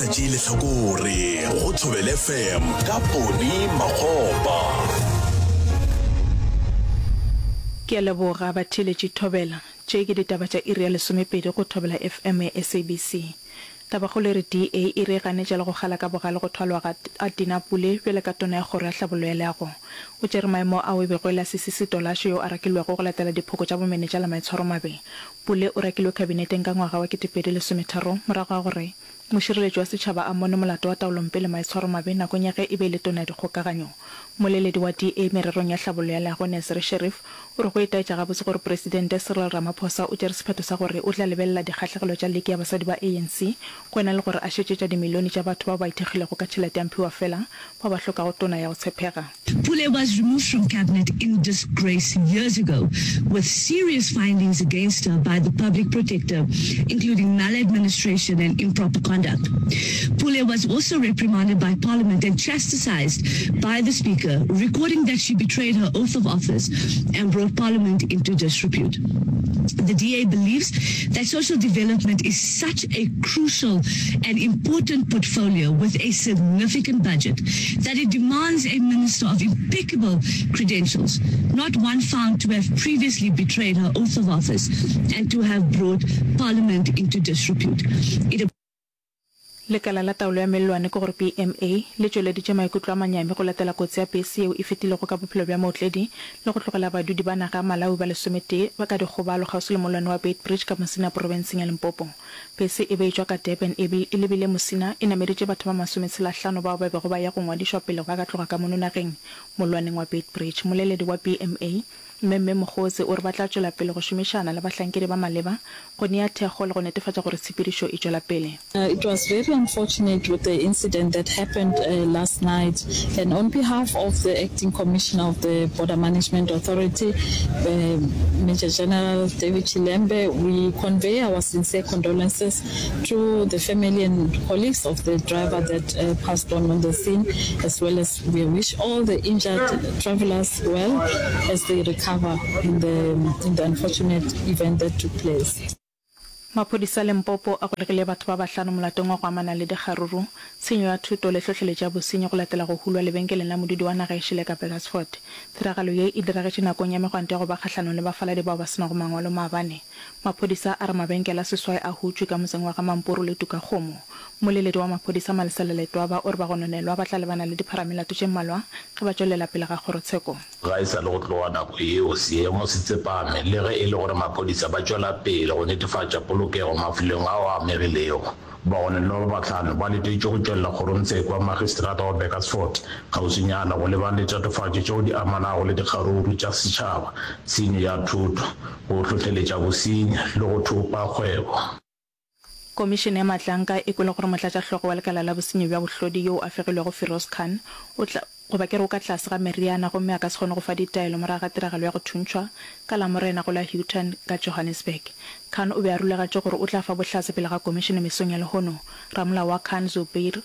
Sa tšee lehlakore go Thobela FM ka Poni Makgopa. Ke a leboga batheeletši Thobela. Tše ke ditaba tša iri ya lesomepedi go Thobela FM ya SABC. Tabakgolo e re DA e re e ganetša le go kgala ka bogale go thwalwa ga a Dina Pule bjale ka tona ya kgoro ya hlabollo ya leago. O tšere maemo ao e bego e le a Sisi Setolashe yo a rakilwego go latela diphoko tša bomenetša le maitshwaromabe. Pule o rakilwe kabineteng ka ngwaga wa 2013 morago ga gore Mošireletši wa setšhaba a mmone molato wa taolompe le maitshwaromabe nakong ya ge e be e le tona ya dikgokaganyo. Mmoleledi wa DA mererong ya hlabollo ya leago Nasir Sheriff o re go itaetša gabotse gore Presidente Cyril Ramaphosa o tšere sephetho sa gore o tla lebelela dikgahlegelo tša liki ya basadi ba ANC go ena le gore a šetše tša dimilione tša batho bao ba ithekgilego ka tšhelete ya mphiwafela bao ba hlokago tona ya go tshepega. Pule was removed from cabinet in disgrace years ago with serious findings against her by the public protector, including maladministration and improper conduct. Pule was also reprimanded by parliament and chastised by the speaker, recording that she betrayed her oath of office and brought parliament into disrepute. The DA believes that social development is such a crucial and important portfolio with a significant budget that it demands a minister of impeccable credentials, not one found to have previously betrayed her oath of office and to have brought parliament into disrepute. It Lekala la taolo ya mellwane ke gore BMA, le tšweleditše maikutlo a manyami go latela kotsi ya bese yeo e fetilego ka bophelo bja mootledi le go tlogela badudi ba naga ya Malawi ba lesometee ba ka dikgobalo kgauswi le mollwane wa Beitbridge ka Musina profenseng ya Limpopo. Bese e be e tšwa ka Durban e e lebile Musina e nameditše batho ba masometshelahlano bao ba bego ba ya go ngwadišwa pele ba ka tloga ka mono nageng mollwaneng wa Beitbridge. Mmoleledi wa BMA, Mme Mme Mogotsi o re ba tla tšwela pele go šomišana le bahlankedi ba maleba go nea thekgo le go netefatša gore tshepedišo e tšwela pele. It was very unfortunate with the incident that happened last night and on behalf of the acting commissioner of the Border Management Authority, Major General David Chilembe, we convey our sincere condolences to the family and colleagues of the driver that passed on on the scene as well as we wish all the injured travelers well as they recover in the, in the unfortunate event that took place. Maphodisa a Limpopo a golegile batho ba bahlano molatong wa go amana le dikgaruru, tshenyo ya thoto le hlohleletšo ya bosenyi go latela go hulwa lebenkeleng la modudi wa naga e šele ka Burgersfort. Tiragalo ye e diragetše nakong ya megwanto ya go ba kgahlanong le bafaladi bao ba se nago mangwalo maabane. Maphodisa a re mabenkele a seswai a hutšwe ka motseng wa ga Mampuru le Tukakgomo. Mmoleledi wa maphodisa Malesela Letwaba o re bagononelwa ba tla lebana le dipharamelato tše mmalwa ge ba tšwelela pele ga kgorotsheko. Ga e sa le go tloga nako yeo, seemo se tsepame le ge e le gore maphodisa ba tšwela pele go netefatša polokego mafelong ao a amegilego. Bagononelwa ba bahlano ba letetšwe go tšwelela kgorongtsheko ya magistrata wa Burgersfort kgauswinyana go lebana le tatofatšo tšeo di amanago le dikgaruru tša setšhaba, tshenyo ya thoto, go hlohleletša bosenyi le go thopa kgwebo. Komišene ya Matlanka e kwele gore motlatšahlogo wa lekala la bosenyi bja bohlodi yoo a fegilwego Firoz Khan o tla goba ke re o ka tlase ga meriana gomme a ka se kgone go fa ditaelo morago ga tiragalo ya go thuntšhwa ka Lamorena go la Houghton ka Johannesburg. Khan o be a rulagatše gore o tla fa bohlatse pele ga komišene mesong ya lehono. Ramolao wa Khan Zubair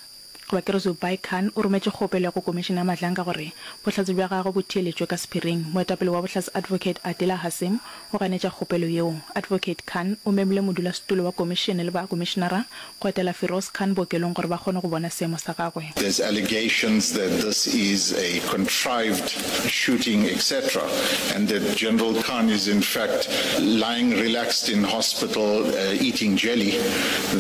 Goba ke re Zubair Khan o rometše kgopelo ya go Komišene ya Madlanka gore bohlatse bja gagwe bo theeletšwe ka sephiring. Moetapele wa bohlatse Advocate Adila Hassim o ganetša kgopelo yeo. Advocate Khan o memile modulasetulo wa komišene le bakomišenara go etela Firoz Khan bookelong gore ba kgone go bona seemo sa gagwe. There's allegations that this is a contrived shooting etc and that General Khan is in fact lying relaxed in hospital eating jelly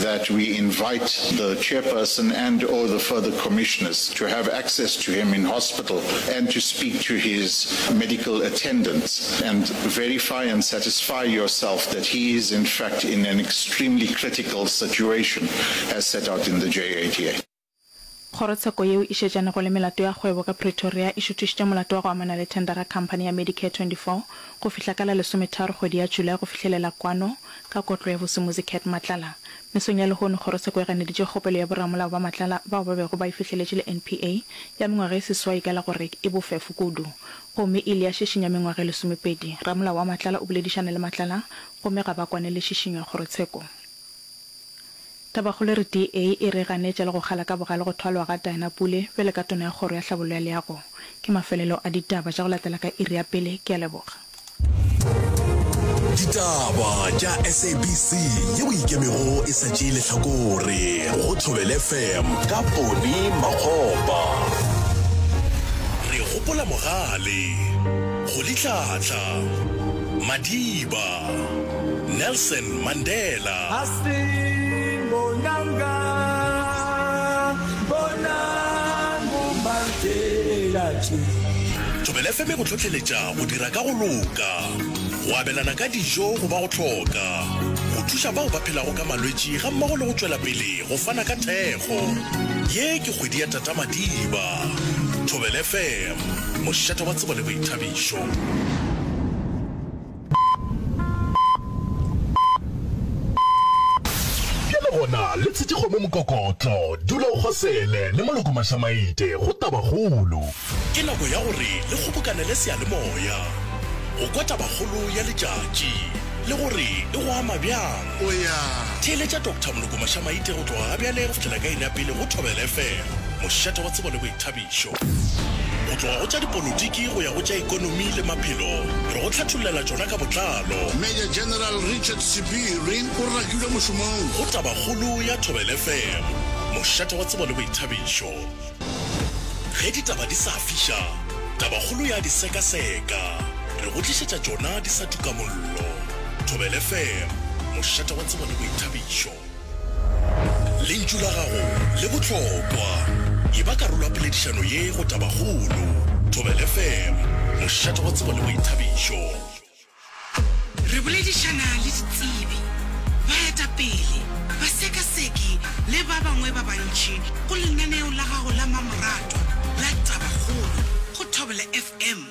that we invite the chairperson and or the further commissioners to have access to him in hospital and to speak to his medical attendants and verify and satisfy yourself that he is in fact in an extremely critical situation as set out in the J88. Kgorotsheko yeo e šetšanego le melato ya kgwebo ka Pretoria e šuthišitše molato wa go amana le thendara khamphani ya Medicare 24 go fihla ka la lesometharo kgwedi ya July go fihlelela kwano ka kotlo ya Vusimuzi Cat Matlala. Mesong ya lehono kgorotsheko e ganeditše kgopelo ya boramolao ba Matlala bao ba bego ba e fihleletše le NPA ya mengwaga e seswai ka la gore e bofefo kudu gomme e ile ya šišinya mengwaga e lesomepedi. Ramolao wa Matlala o boledišane le Matlala gomme ga ba kwane le šišinyo ya kgorotsheko. Tabakgolo e re DA e re ganetša le go kgala ka bogale go thwalwa ga Diana Pule bjalo ka Tona ya Kgoro ya Hlabollo ya Leago. Ke mafelelo a ditaba tša go latela ka iri ya pele. Ke a leboga. Ditaba tša SABC yeo e ikemego e sa tšee lehlakore go Thobela FM ka Poni Makgopa. Re gopola Mogale, Rolihlahla, Madiba, Nelson Mandela. Thobela FM e go hlohleletša go dira ka go loka, go abelana ka dijo go ba go hloka, go thuša bao ba phelago ka malwetši gammogo le go tšwela pele go fana ka thekgo. Ye ke kgwedi ya Tata Madiba. Thobela FM, mošate wa tsebo le boithabišo. Bjale gona le tshetše kgomo mokokotlo, dula o kgosele le moloko mašamaite go tabakgolo. Ke nako ya gore le kgobokanele seyalemoya go kwa tabakgolo ya letšatši le gore e go ama bjang. Theeletša Doctor Moloko Mašamaite go tloga ga bjale go fihlela ka iri ya pele go Thobela FM, mošate wa tsebo le boithabišo. Go tloga go tša dipolotiki go ya go tša ekonomi le maphelo, re go hlathollela tšona ka botlalo. Major General Richard Sibiri o rakilwe mošomong. Go Tabakgolo ya Thobela FM, mošate wa tsebo le boithabišo. Ge ditaba di sa fiša, Tabakgolo ya di sekaseka. Re go tlišetša tšona di sa tuka mollo. Thobela FM, mošate wa tsebo le boithabišo. Lentšu la gago le bohlokwa. Eba karolo ya poledišano ye go Tabakgolo. Thobela FM, mošate wa tsebo le boithabišo. Re boledišana le ditsebi, baetapele, basekaseki le ba bangwe ba bantši go lenaneo la gago la mamoratwa la Tabakgolo go Thobela FM,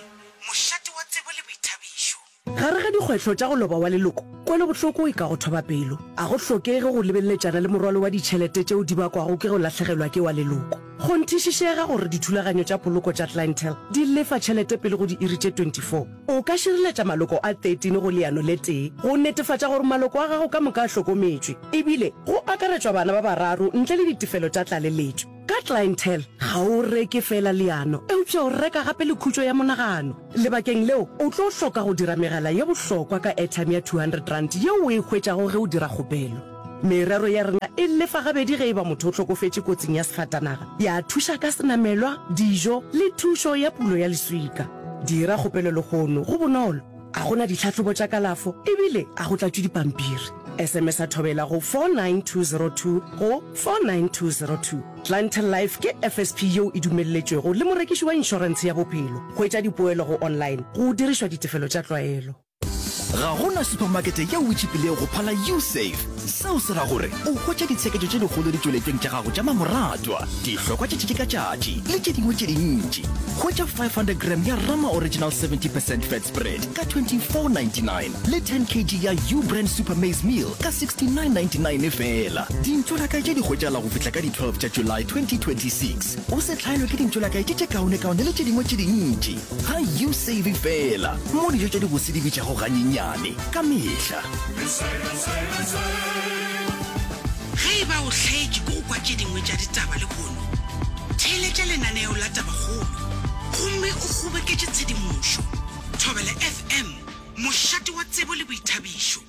mošate wa tsebo le boithabišo. Gare ga dikgwetlho tša go loba wa leloko, kwelobohloko e ka go thoba pelo. A go hlokege go lebeleletšana le morwalo wa ditšhelete tšeo di bakwago ke go lahlegelwa ke wa leloko. Kgonthišišega gore dithulaganyo tša poloko tša Clientele di lefa tšhelete pele go diiri tše 24. O ka šireletša maloko a 13 go leano le tee go netefatša gore maloko a gago ka moka a hlokometšwe, ebile go akaretšwa bana ba bararo ntle le ditefelo tša tlaleletšo. Ka Clientele, ga o reke feela leano, eupša o reka gape le khutšo ya monagano. Lebakeng leo, o tlo hloka go dira megala ye bohlokwa ka airtime ya R200 yeo o e hwetšago ge o dira kgopelo. Merero ya rena e lefa gabedi ge e ba motho o hlokofetše kotsing ya sefatanaga, ya thuša ka senamelwa, dijo le thušo ya pulo ya leswika. Dira kgopelo lehono, go bonolo, ga go na ditlhahlobo tša kalafo e bile ga go tlatšwe dipampiri. SMS-a Thobela go 49202 go 49202. Clientele Life ke FSP yeo e dumelletšwego le morekiši wa inšorentshe ya bophelo. Hwetša dipoelo go online go dirišwa ditefelo tša tlwaelo. Ga go na supamakete yeo e tšhipilego go phala Usave. Seo se ra gore o hwetša ditsheketšo tše dikgolo ditšweletšweng tša gago tša mamoratwa, dihlokwa tša tšatši ka tšatši le tše dingwe tše dintši. Hwetša 500 gram ya Rama Original 70 percent fat spread ka 24.99 le 10 kg ya U-Brand Super Maize Meal ka 69.99 feela. Dintšolakae tše di hwetšagala go fihla ka di 12 tša July 2026. O se hlaelwe ke dintšolakae tše tše kaonekaone le tše dingwe tše dintši. Ga U-Save feela, mo dijo tša dibose di bitšago ganyenyane ka mehla. Ge e ba o hlaetše ke go kwa tše dingwe tša ditaba lehono, theeletša lenaneo la Tabakgolo gomme o kgoboketše tshedimošo. Thobela FM, mošate wa tsebo le boithabišo.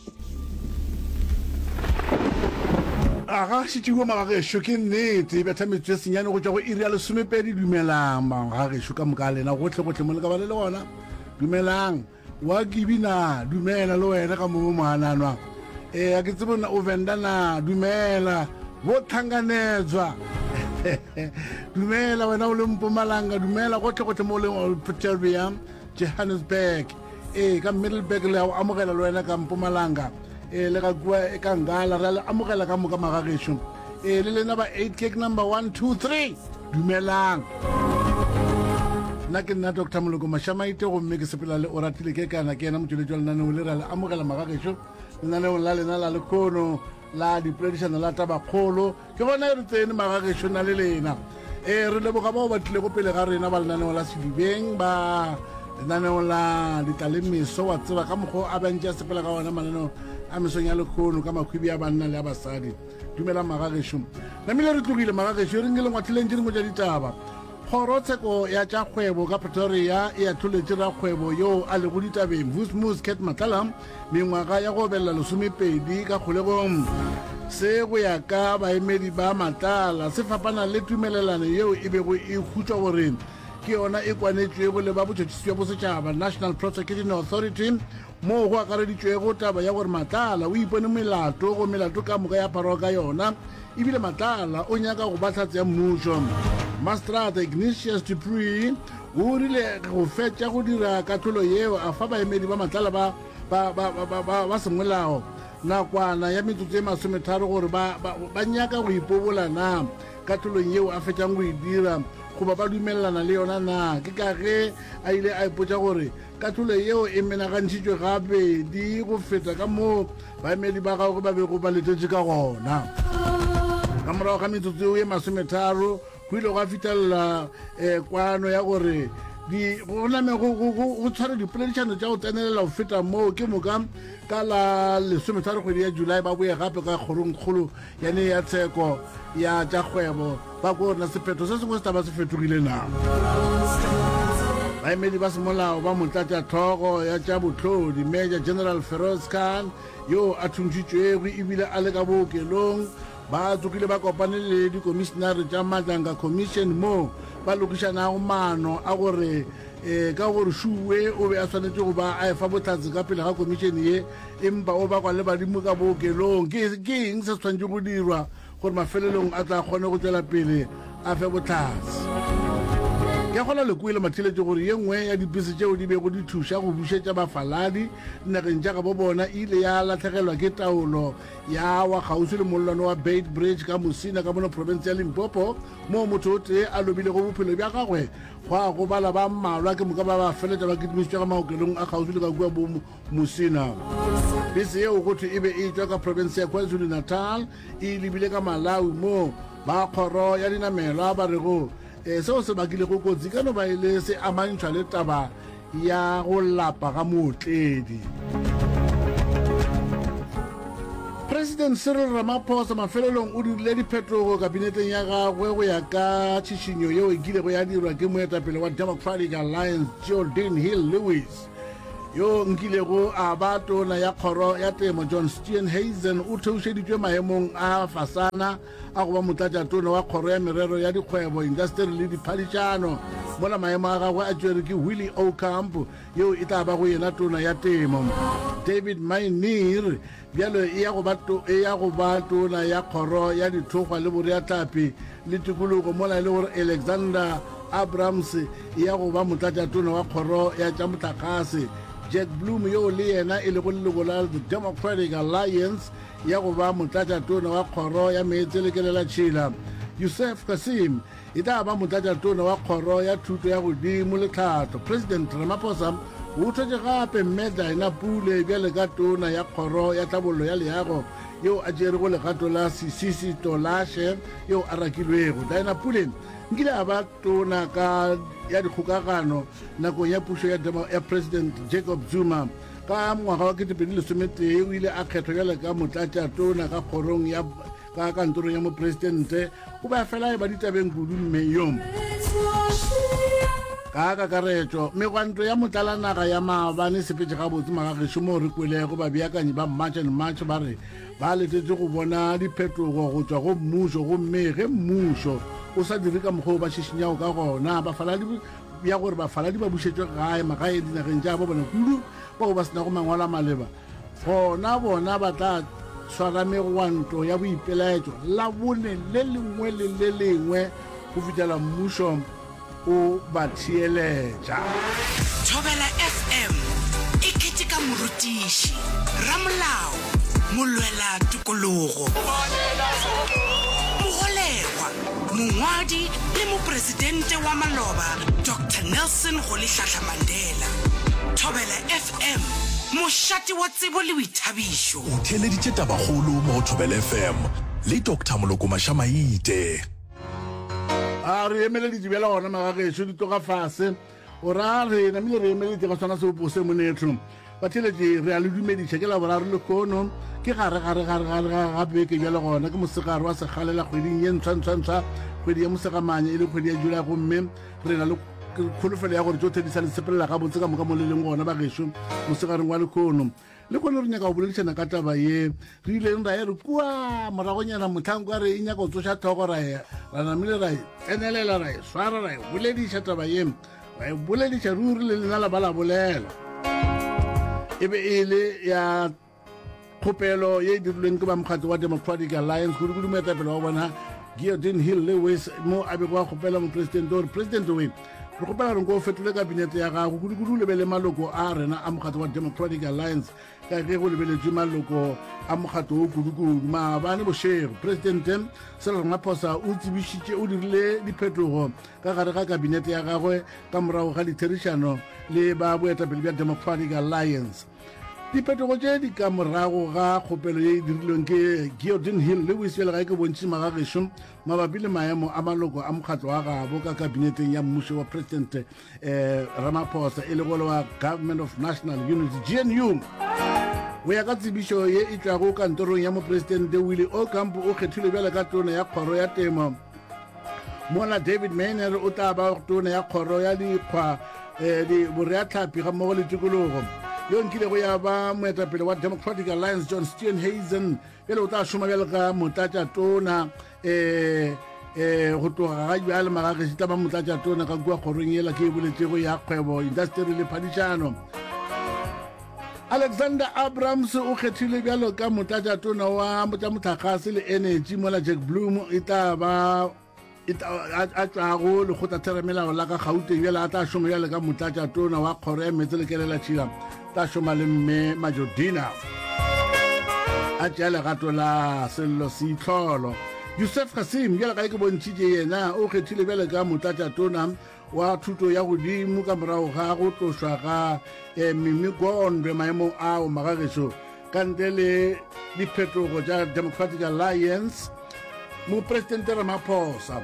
Aga šetšiwe magagešo ke nnete e betha metsotso e senyane go tšwa go iri ya lesomepedi. Dumelang magagešo ka moka a lena gohle gohle mo le ka ba le le gona. Dumelang wa kibi na dumela le wena ka mo moananwa. Ee a ke tsebe na o venda na dumela bo tlhanganetswa. Dumela wena o le Mpumalanga dumela gohle gohle mo o leng Pretoria Johannesburg. Ee, ka Middelburg le a o amogela le wena ka Mpumalanga. Ee, le ga kua e ka Ngala re a le amogela ka moka magagešo. Ee, le lena ba 8 cake number 1 2 3. Dumelang. Nna ke nna Dr. Moloko Mashamaite gomme ke sepela le Oratile Kekana ke yena motšweletši wa lenaneo le re a le amogela magagešo lenaneong la lena la lekhono la dipoledišano la tabakgolo. Ke gona e re tsene magagešo na le lena. Ee, re leboga bao ba tlilego pele ga rena ba lenaneo la Sedibeng, ba lenaneo la Ditlalemeso, wa tseba ka mokgwa a bantši a sepela ka ona mananeo a mesong ya lekgono ka makhwibi a banna le a basadi. Dumelang magagešo. Namile re tlogile magagešo, e reng ke le ngwathileng tše dingwe tša ditaba. Kgorotsheko ya tša kgwebo ka Pretoria e ahloletše rakgwebo yoo a lego ditabeng Vusimuzi Cat Matlala mengwaga ya go obelela lesomepedi ka kgolegong. Se go ya ka baemedi ba Matlala se fapana le tumelelano yeo e bego e hutšwa gore ke yona e kwanetšwego le ba botšhotšhisi bja bosetšhaba National Prosecuting Authority moo go akareditšwego taba ya gore Matlala o ipone melato go melato ka moka ya pharwa ka yona ebile Matlala o nyaka go ba hlatse ya mmušo. Mastrata Ignatius Dupree o rile go fetša go dira kahlolo yeo a fa baemedi ba Matlala ba ba ba ba ba ba semolao nakwana ya metsotso e masometharo gore ba ba ba nyaka go ipobola na kahlolong yeo a fetšang go e dira goba ba dumelelana le yona na. Ke ka ge a ile a ipotša gore Kahlolo yeo e menagantšhitšwe gabedi go feta ka moo baemedi ba gagwe ba bego ba letetše ka gona. Ka morago ga metsotso yeo ye masometharo, go ile gwa fihlelela eh, kwano ya gore di go name go go go go tshware dipoledišano tša go tsenelela go feta moo ke moka ka la lesometharo kgwedi ya July ba boye gape ka kgorongkgolo yane ya tsheko ya tša kgwebo ba ko na sephetho se sengwe se taba se fetogile na. Baemedi ba semolao ba motlatšahlogo ya tša bohlodi Major General Feroz Khan yo a thuntšitšwego ebile a le ka bookelong ba tsogile ba kopane le dikomišinare tša Madlanga Commission moo ba lokišanago maano a gore e ka gore Shuwe o be a swanetše go ba a efa bohlatse ka pele ga komišene ye empa o bakwa le badimo ka bookelong. Ke, ke eng se se swanetše go dirwa gore mafelelong a tla kgone go tšwela pele a fe bohlatse? Ke a kgolwa le kwele matheletšo gore ye nngwe ya dipese tšeo di bego di thuša go bušetša bafaladi dinageng tša gabo bona e ile ya lahlegelwa ke taolo ya wa kgauswi le mollwane wa Beit Bridge ka Musina ka mono profense ya Limpopo moo motho o tee a lobilego bophelo bja gagwe gwa gobala ba mmalwa ke moka ba ba feletša ba kitimišitšwe ka maokelong a kgauswi le ka kua bo Musina. Bese yeo go thwe e be e tšwa ka profense ya KwaZulu-Natal e lebile ka Malawi moo ba kgoro ya dinamelwa ba rego e, seo se bakilego kotsi ka no ba e le se amantšhwa le taba ya go lapa ga mootledi. President Cyril Ramaphosa mafelelong o dirile diphetogo kabineteng ya gagwe go ya ka tšhišinyo yeo e kilego ya dirwa ke moetapele wa Democratic Alliance Geordin Hill-Lewis. Yo nkilego a ba tona ya kgoro ya temo John Steenhuisen o theošeditšwe maemong a fasana a go ba motlatšatona wa kgoro ya merero ya dikgwebo, indasteri le diphadišano, mola maemo a gagwe a tšerwe ke Willie Aucamp yeo e tla bago yena tona ya temo. David Maynier Bjalo e ya go ba to, e ya go ba tona ya kgoro ya dithokgwa le boreahlapi le tikologo, mola e le gore Alexander Abrams e ya go ba motlatšatona wa kgoro ya tša mohlagase. Jack Bloom yoo le yena e lego leloko la The Democratic Alliance ya go ba motlatšatona wa kgoro ya meetse le kelelatšhila. Yusuf Cassim E tla ba motlatšatona wa Kgoro ya Thuto ya Godimo le Tlhahlo. President Ramaphosa o thwetše gape Mme Dinah Pule bjale ka Tona ya Kgoro ya Tlhabollo ya Leago yeo a tšerego legato la Sisisi Tolashe yeo a rakilwego. Dinah Pule nkile a ba Tona ka ya Dikgokagano nakong ya pušo ya, ya President Jacob Zuma. Ka ngwaga wa 2011 o ile a kgethwa bjale ka motlatšatona ka kgorong ya Ka kantorong ya mopresidente, o be a fela a eba ditabeng kudu mme yo. Ka kakaretšo, megwanto ya motlalanaga ya maabane e sepetše gabotse magagešo moo re kwelego babeakanyi ba March and March ba re ba letetše go bona diphetogo go tšwa go mmušo gomme ge mmušo o sa dire ka mokgwa o ba šišinyago ka gona bafaladi ya gore bafaladi ba bušetšwe gae magaeng dinageng tša bo bona kudu bao ba se nago mangwalo a maleba Gona bona ba tla swara megwanto ya boipelaetšo Labone le lengwe le le lengwe go fihlela mmušo o ba theeletša. Thobela FM e keteka morutiši, ramolao, molwela tokologo, mogolegwa, mongwadi le mopresidente wa maloba Doctor Nelson Rolihlahla Mandela. Thobela FM, mošate wa tsebo le boithabišo. O theeleditše Tabakgolo mo go Thobela FM le Doctor Moloko Mašamaite. A re emeleditše bjale gona magagešo di tloga fase. O ra re namile re emeleditše ka sona seopo se monetho. Batheeletši, re a le dumediša. Ke Laboraro lehono, ke gare gare gare gare ga ga beke bjale gona ke mosegare wa segalela kgweding ye ntshwa ntshwa ntshwa, kgwedi ya Mosegamanya e le kgwedi ya July gomme re na le kholofelo ya gore tšohle di sa le sepelela gabotse ka moka mo le leng gona bagešo mosegareng wa lehono. Lehono re nyaka go boledišana ka taba ye re ileng ra e re kua moragonyana mohlang kwa re e nyaka go tsoša tlhogo ra e ra namile ra e tsenelela ra e swara ra e bolediša taba ye ra e bolediša ruri le lena la ba la bolela. E be e le ya kgopelo ye e dirilweng ke ba mokgatlo wa Democratic Alliance kudu-kudu moetapele wa bona Geordin Hill Lewis mo a bego a kgopela mopresidente gore presidente we re kgopela gore nko o fetole kabinete ya gago kudu-kudu o lebele maloko a rena a mokgatlo wa Democratic Alliance ka ge go lebeletšwe maloko a mokgatlo wo kudu-kudu. Maabane bošego presidente Cyril Ramaphosa o tsebišitše o dirile diphetogo ka gare ga kabinete ya gagwe ka morago ga ditherišano le ba boetapele bja Democratic Alliance. Diphetogo tše di ka morago ga kgopelo ye e dirilweng ke Geordin Hill Lewis bjale ga e ke bontšhe magagešo mabapi le maemo a maloko a mokgatlo wa gabo ka kabineteng ya mmušo wa Presidente eh, Ramaphosa e lego le wa Government of National Unity GNU. Go ya ka tsebišo ye e tšwago kantorong ya mopresidente Willie Aucamp o kgethilwe bjale ka tona ya kgoro ya temo Mola David Mayner o tla ba tona ya kgoro ya dikgwa eh, di boreatlhapi gammogo le tikologo. Yo nkilego ya ba moetapele wa Democratic Alliance John Steenhuisen bjale o tla šoma bjalo ka motlatšatona eh, eh, go tloga ga bjale magagešo tla ba motlatšatona ka kua kgorong yela ke e boletšego ya kgwebo indasteri le phadišano. Alexander Abrams o kgethilwe bjalo ka motlatšatona wa tša mohlagase le enetši mola Jack Bloom e tla ba e a tšwago lekgotlatheramelao la ka Gauteng bjale a tla šoma bjale ka motlatšatona wa kgoro ya meetse le kelelatšhila tla šoma le mme Majodina a tšea legato la Sello Seitlholo. Yusuf Cassim bjale ga e ke bontšhitše yena o kgethilwe bjale ka motlatšatona wa thuto ya godimo ka morago ga go tlošwa ga eh, Mimi Gondwe maemong ao magagešo ka ntle le diphetogo tša Democratic Alliance. Mopresidente Ramaphosa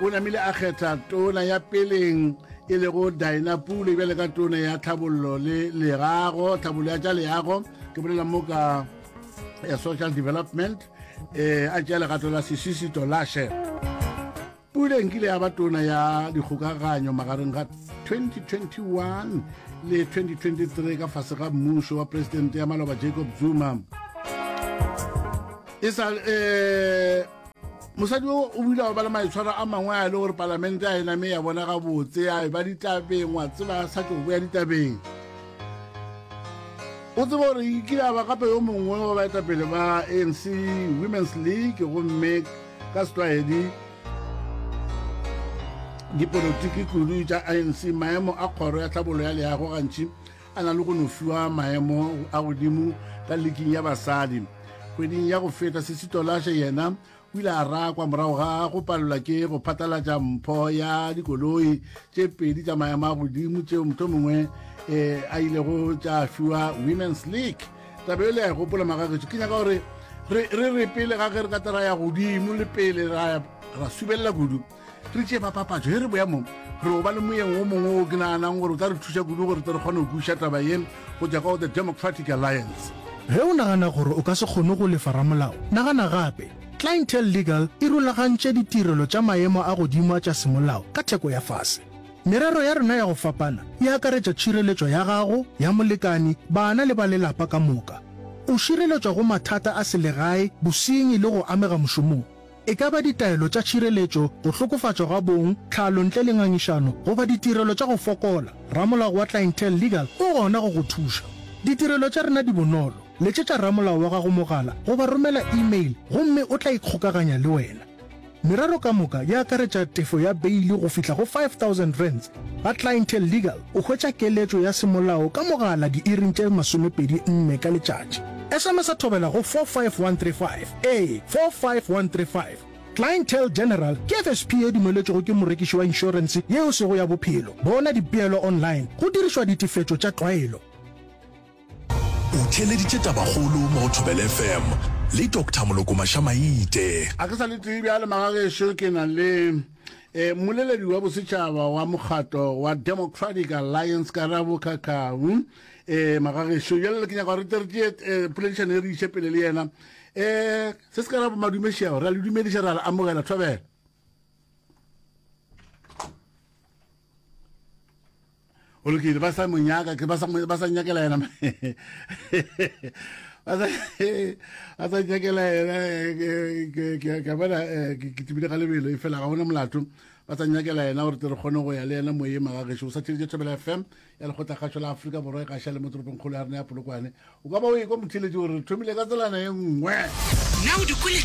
o namile a kgetha tona ya peleng e lego Dina Pule bjale ka tona ya tlhabollo le leago, tlhabollo ya tša leago, ke bolela mo ka ya social development, eh, a tšea legato la Sisisi Tolashe. Pule nkile ya ba tona ya dikgokaganyo magareng ga 2021 le 2023 ka fase ga mmušo wa presidente ya maloba Jacob Zuma. E sa eh mosadi o o bile ba le maitshwaro a mangwe a e le gore palamente a e name ya bona gabotse a e ba ditabeng wa tseba a sa tlo boya ditabeng o tseba gore e kile a ba gape yo mongwe wa baetapele ba ANC Women's League gomme Ka setlwaedi, dipolotiki kudu tša ANC, maemo a kgoro ya tlhabollo ya leago gantši a na le go no fiwa maemo a godimo ka liking ya basadi. Kgweding ya go feta, Sisi Tolashe yena o ile a rakwa morago ga go palelwa ke go phatlalatša mpho ya dikoloi tše pedi tša maemo a godimo tšeo mohlomongwe eh, a ilego tša fiwa Women's League. Taba e le ya e gopola magagetšo, ke nyaka gore re re re pele ga ge re ka tla ra ya godimo le pele ra ra subelela kudu re tšee bapapatšo ge re boya mo re o ba le moyeng o mongwe o ke naganang gore o tla re thuša kudu gore tle re kgone go kwešiša taba ye go tšwa ka go the Democratic Alliance. Ge o nagana gore o ka se kgone go lefa ramolao, nagana gape. Clientele Legal e rulagantše ditirelo tša maemo a godimo a tša semolao ka theko ya fase. Merero ya rena ya go fapana e akaretša tšhireletšo ya gago, ya molekani, bana le ba lelapa ka moka. O šireletšwa go mathata a selegae, bosenyi le go amega mošomong. E ka ba ditaelo tša tšhireletšo, go hlokofatšwa ga bong, tlhalo ntle le ngangišano goba ditirelo tša go fokola, ramolao wa Clientele Legal o gona go go thuša. Ditirelo tša rena di bonolo, letšetša ramolao wa gago mogala goba romela email gomme o tla ikgokaganya le wena. Merero ka moka e akaretša tefo ya beili go fihla go R5000. Ga Clientele Legal o hwetša keletšo ya semolao ka mogala diiring tše 24 ka letšatši. SMS-a thobela go 45135, ee, 45135. Clientele General ke FSP ye dumeletšwego ke morekiši wa inšorense ye e sego ya bophelo. Bona dipeelo online go dirišwa ditefetšo tša tlwaelo. O theeleditše Tabakgolo mo go Thobela FM le Doctor Moloko Mašamaite. A ke sa le tee bjale magagešo ke na le eh, mmoleledi wa bosetšhaba wa mokgatlo wa Democratic Alliance Karabo Khakhau. um magagešo bjale ke nyaka gore tle re tšee eh, poledišano e re iše pele le yena um se se ka ra madume šeo re a le dumediša re a le amogela thobela O lokile, ba sa mo nyaka, ke ba sa ba sa nyakela yena. Ba sa ba sa nyakela yena ke ke ke bona eh, ke ke tibile ga lebelo e fela ga ona molato. Ba sa nyakela yena gore tle re kgone go ya le yena moyeng magagešu. O sa theleditše Thobela FM ya Lekgotlakgašo la Afrika Borwa e gaša le mo toropongkgolo ya rena ya Polokwane. O ka ba o ekwa motheeletši gore re thomile ka tselana e nngwe. Na o di kwele?